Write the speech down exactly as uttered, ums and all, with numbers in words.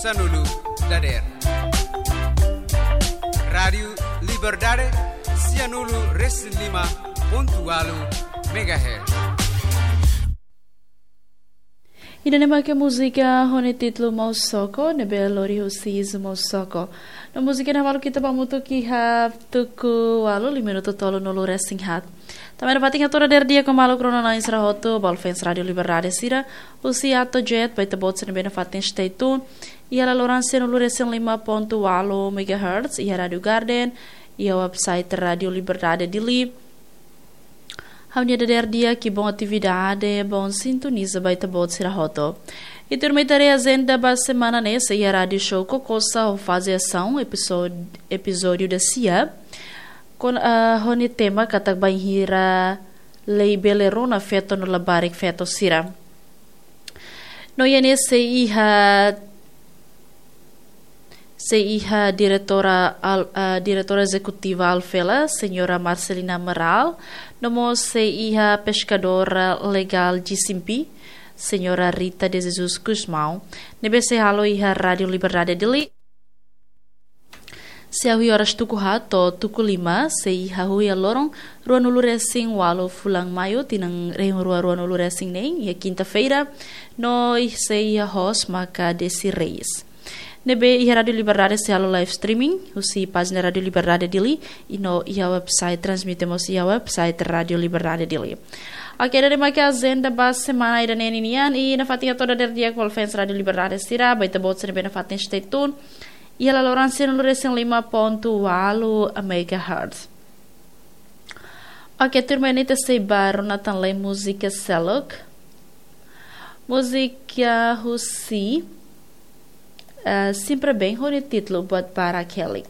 Sanulu dader. Rádiu Liberdade, sianulu resin lima pontu walu megahertz. Ida-ne'e mak múzika ho nia títulu Mosoko, ne'ebé lori husi Izu Mosoko. No múzika ne'e malu ita ba mutu ki ha tuku walu, lima minutu tolunulu resin haat. Tanba ne'e fatin hato'o dader di'ak ho maluk rona-na'in sira hotu, ba fans Rádiu Liberdade sira, husi Ato Jet, ba ita-boot sira ne'ebé nafatin stay tune, iha laloran sianulu resin lima pontu walu megahertz, iha Rádiu Garden, iha website Rádiu Liberdade Dili. Ha'u-nia dader di'ak, bom atividade, bom sintoniza ba ita-boot sira hotu. I tuirmai ita haree ajenda ba semana ne'e, sei iha rádiu show Kokosa ho faze asaun, episód-, epizódiu dasia. Kon, ah, ho nia tema katak bainhira lei bele rona feto no labarik feto sira. No iha ne'e sei iha, sei iha diretora al-, ah, diretora ezekutiva Alfela, señora Marcelina Amaral, no mós sei iha peskadora legál G C M P, señora Rita de Jesus Gusmão, ne'ebé sei halo iha Rádiu Liberdade Dili. Sei hahú iha oras tuku haat to'o tuku lima, sei hahú iha loron ruanulu resin walu fulan Maiu, tinan rihun rua ruanulu resin neen, iha kinta-feira, no sei iha host maka Desi Reis. Ne'ebé iha Rádiu Liberdade sei halo live streaming, husi pájina Rádiu Liberdade Dili, i no iha website, transmite mós iha website Rádiu Liberdade Dili. Oke, ida-ne'e mak ajenda ba semana ida-ne'e ninian, i nafatin hato'o dader di'ak ba fans Rádiu Liberdade sira, ba ita-boot sira ne'ebé nafatin stay tune. Iha laloran sianulu resin lima pontu walu megahertz. Oke, tuirmai ne'e ita sei ba rona tan lai múzika seluk. Múzika husi, eh, Sempre Bem, ho nia títulu Buat Barak Helik.